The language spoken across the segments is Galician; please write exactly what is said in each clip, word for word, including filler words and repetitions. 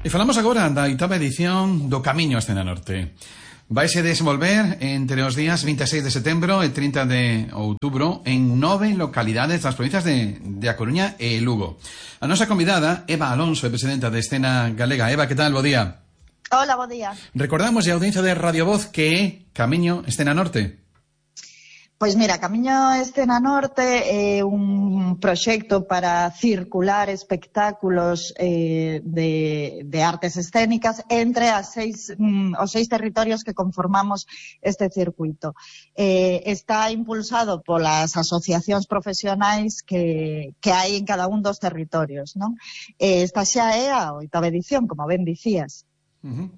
E falamos agora da oitava edición do Camiño Escena Norte. Vaise desenvolver entre os días vinte e seis de setembro e trinta de outubro en nove localidades das provincias de, de A Coruña e Lugo. A nosa convidada, Eva Alonso, é presidenta de Escena Galega. Eva, que tal? Bo día. Hola, bo día. Recordamos a audiencia de Radio Voz que é Camiño Escena Norte. Pois mira, Camiño Escena Norte é un proxecto para circular espectáculos eh, de, de artes escénicas entre as seis, mm, os seis territorios que conformamos este circuito. Eh, está impulsado polas asociacións profesionais que, que hai en cada un dos territorios, non? Eh, esta xa é a oitava edición, como ben dicías. Uh-huh.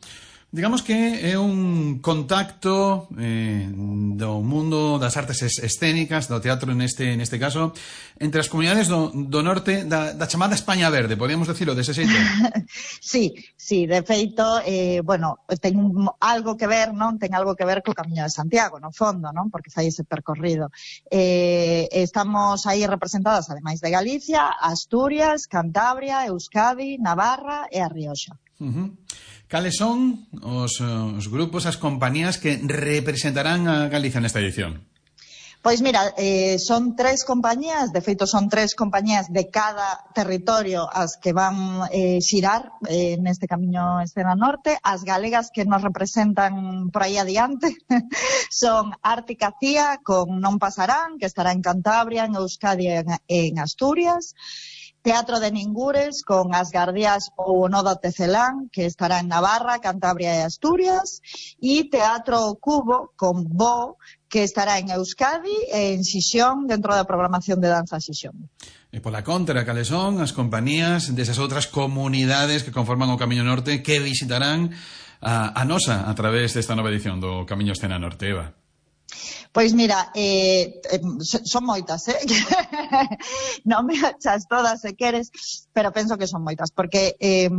Digamos que é un contacto eh, do mundo das artes escénicas, do teatro neste neste caso, entre as comunidades do, do norte da, da chamada España Verde, podríamos decirlo dese xeito? Sí, sí, de feito, eh, bueno, ten un, algo que ver, non? Ten algo que ver co Camiño de Santiago, no fondo, non? Porque fai ese percorrido. Eh, estamos aí representadas, ademais de Galicia, Asturias, Cantabria, Euskadi, Navarra e a Rioxa. Uh-huh. Cales son os, os grupos, as compañías que representarán a Galicia nesta edición? Pois mira, eh, son tres compañías, de feito son tres compañías de cada territorio as que van eh, xirar eh, neste Camiño Escena Norte. As galegas que nos representan por aí adiante son Ártica Cía con Non Pasarán, que estará en Cantabria, en Euskadi e en, en Asturias. Teatro de Ningures con As Guardias ou o Nodo Tecelán, que estará en Navarra, Cantabria e Asturias, e Teatro Cubo con Bo, que estará en Euskadi e en Xixón, dentro da programación de danza Xixón. E pola contra, cales son as compañías desas outras comunidades que conforman o Camiño Norte que visitarán a, a nosa a través desta nova edición do Camiño Escena Norte, Eva? Pois mira, eh, son moitas, eh? Non me achas todas se queres, pero penso que son moitas, porque eh,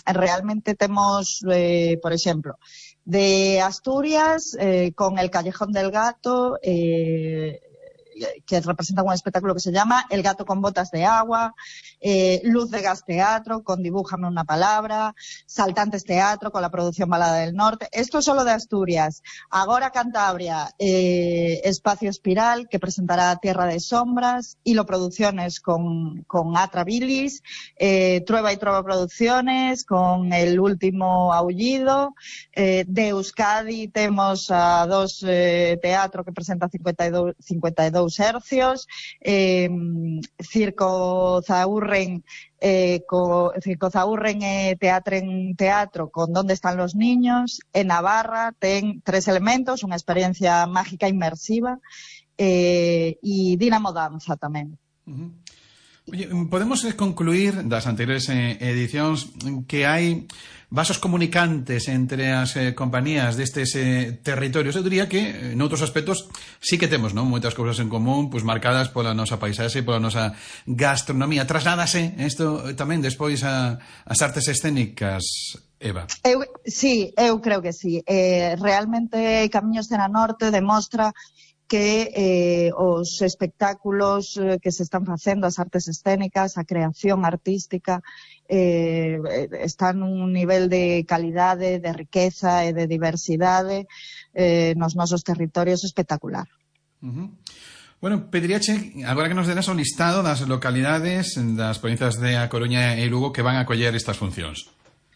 realmente temos, eh, por exemplo, de Asturias, eh, con El Callejón del Gato, eh, que representa un espectáculo que se llama El Gato con Botas de Agua, eh, Luz de Gas Teatro con Dibújame una Palabra, Saltantes Teatro con la producción Balada del Norte. Esto es solo de Asturias. Agora Cantabria, eh, Espacio Espiral, que presentará Tierra de Sombras, Hilo Producciones con, con Atra Bilis, eh, Trueba y Trova Producciones con El Último Aullido, eh, de Euskadi temos a dos eh, teatro que presenta cincuenta y dos, cincuenta y dos hercios, eh, Circo Zaurren, eh, co, Circo Zaurren e Teatren Teatro con Donde están los niños. En Navarra ten Tres elementos, unha experiencia mágica inmersiva, eh, e Dinamo Danza tamén. Uh-huh. Oye, podemos concluir das anteriores eh, edicións que hai vasos comunicantes entre as eh, compañías destes eh, territorios. Eu diría que, eh, noutros aspectos, sí que temos, non, moitas cousas en común, pois marcadas pola nosa paisaxe, pola nosa gastronomía. Trasládase isto tamén despois a, as artes escénicas, Eva? Eu, sí, eu creo que sí. Eh, realmente Camiño Escena Norte demostra que eh, os espectáculos eh, que se están facendo, as artes escénicas, a creación artística, eh, están nun nivel de calidade, de riqueza e de diversidade eh, nos nosos territorios espectacular. Uh-huh. Bueno, pediríache, agora que nos deras o listado das localidades das provincias de A Coruña e Lugo que van a acoller estas funcións.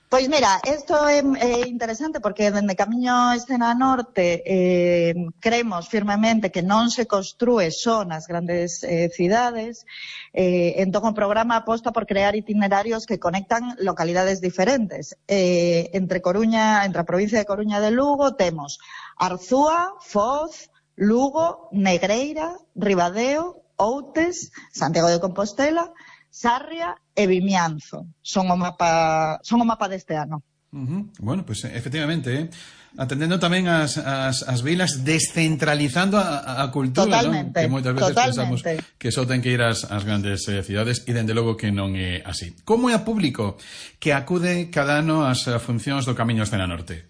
Pois mira, isto é, é interesante porque dende Camiño Escena Norte eh, creemos firmemente que non se construe só nas grandes eh, cidades, eh, entón o programa aposta por crear itinerarios que conectan localidades diferentes. Eh, entre Coruña, entre a provincia de Coruña de Lugo temos Arzúa, Foz, Lugo, Negreira, Ribadeo, Outes, Santiago de Compostela, Sarria e Vimianzo. Son o mapa, son o mapa deste ano. Uh-huh. Bueno, pues efectivamente, eh, atendendo tamén as, as, as vilas, descentralizando a, a cultura, totalmente, ¿no? Que moitas veces totalmente. pensamos que só ten que ir ás, ás grandes eh, cidades e dende logo que non é así. Como é a público que acude cada ano ás funcións do Camiño Escena Norte?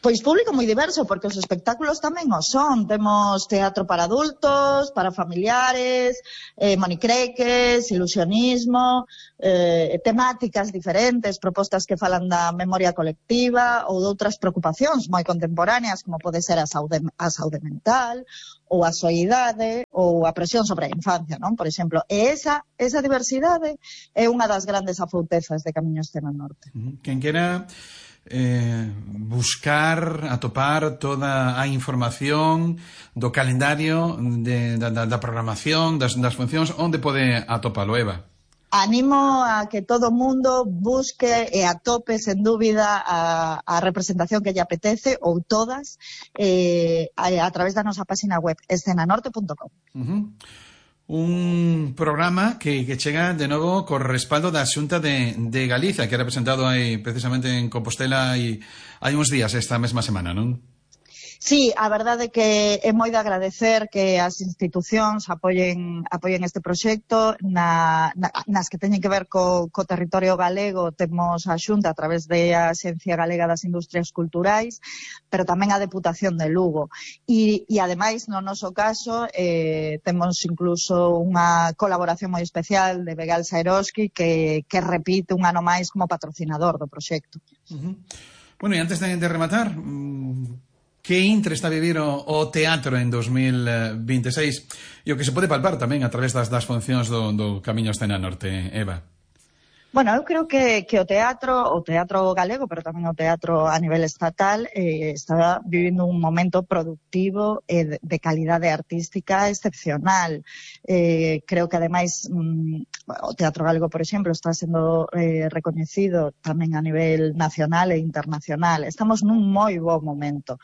Pois público moi diverso, porque os espectáculos tamén o son. Temos teatro para adultos, para familiares, eh, monicreques, ilusionismo, eh, temáticas diferentes, propostas que falan da memoria colectiva ou de outras preocupacións moi contemporáneas, como pode ser a saúde, a saúde mental, ou a soidade, ou a presión sobre a infancia, non? Por exemplo, e esa, esa diversidade é unha das grandes afoutezas de Camiño Escena Norte. Quen quera eh, buscar, atopar toda a información do calendario de, da, da programación, das, das funcións, onde pode atopalo, Eva? Animo a que todo o mundo busque e atope, sen dúbida, a, a representación que lle apetece, ou todas, eh, a, a través da nosa página web, escena norte punto com. Uh-huh. Un programa que, que chega de novo co respaldo da Xunta de, de Galicia, que era presentado aí precisamente en Compostela hai, hai uns días, esta mesma semana, non? Sí, a verdade é que é moi de agradecer que as institucións apoien, apoien este proxecto. Na, na, nas que teñen que ver co, co territorio galego, temos a Xunta a través da Axencia Galega das Industrias Culturais, pero tamén a Deputación de Lugo. E, e ademais, no noso caso, eh, temos incluso unha colaboración moi especial de Begal Saeroski, que, que repite un ano máis como patrocinador do proxecto. Uh-huh. Bueno, e antes de, de rematar... Mmm... Que intre está a vivir o, o teatro en dos mil veintiséis e o que se pode palpar tamén a través das, das funcións do, do Camiño Escena Norte, Eva? Bueno, eu creo que, que o teatro, o teatro galego, pero tamén o teatro a nivel estatal, eh, está vivindo un momento productivo e de, de calidade artística excepcional. Eh, creo que, ademais, mm, o teatro galego, por exemplo, está sendo eh, recoñecido tamén a nivel nacional e internacional. Estamos nun moi bo momento.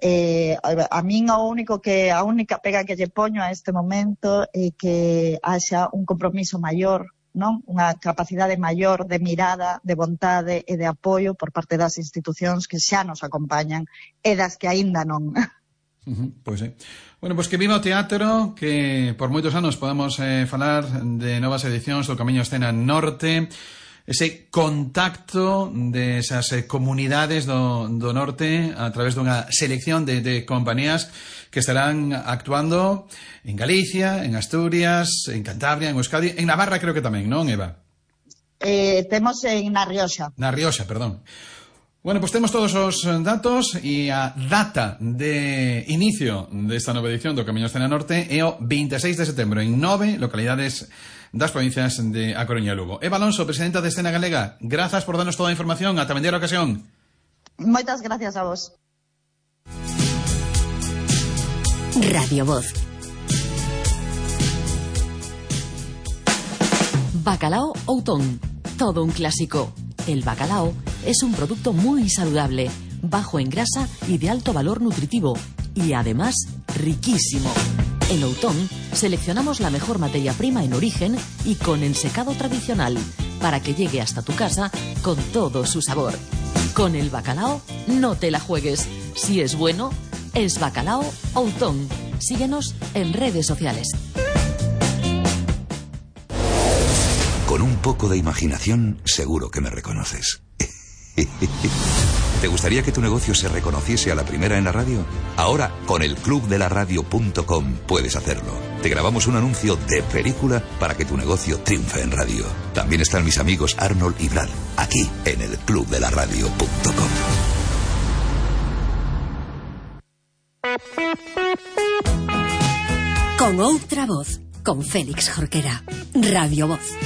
Eh, a min o único que a única pega que lle poño a este momento é que haxa un compromiso maior, non? Unha capacidade maior de mirada, de vontade e de apoio por parte das institucións que xa nos acompañan e das que aínda non. Uh-huh, pois é. Bueno, pois que viva o teatro, que por moitos anos podamos eh, falar de novas edicións do Camiño Escena Norte, ese contacto de esas eh, comunidades do, do norte a través dunha selección de, de compañías que estarán actuando en Galicia, en Asturias, en Cantabria, en Euskadi, en Navarra creo que tamén, non, Eva? Eh, temos en Na Rioxa. Na Rioxa, perdón. Bueno, pues temos todos os datos e a data de inicio desta nova edición do Camiño Escena Norte é o veintiséis de setembro en nove localidades das provincias de A Coruña e Lugo. Eva Alonso, presidenta de Escena Galega, grazas por darnos toda a información. Ata vendera ocasión. Moitas gracias a vos. Radio Voz. Bacalao Outón, todo un clásico. El bacalao es un producto muy saludable, bajo en grasa y de alto valor nutritivo, y además riquísimo. En Outón seleccionamos la mejor materia prima en origen y con el secado tradicional, para que llegue hasta tu casa con todo su sabor. Con el bacalao no te la juegues. Si es bueno, es Bacalao Outón. Síguenos en redes sociales. Con un poco de imaginación, seguro que me reconoces. ¿Te gustaría que tu negocio se reconociese a la primera en la radio? Ahora, con el club de la radio punto com puedes hacerlo. Te grabamos un anuncio de película para que tu negocio triunfe en radio. También están mis amigos Arnold y Brad, aquí en el club de la radio punto com. Con outra voz, con Félix Jorquera. Radio Voz.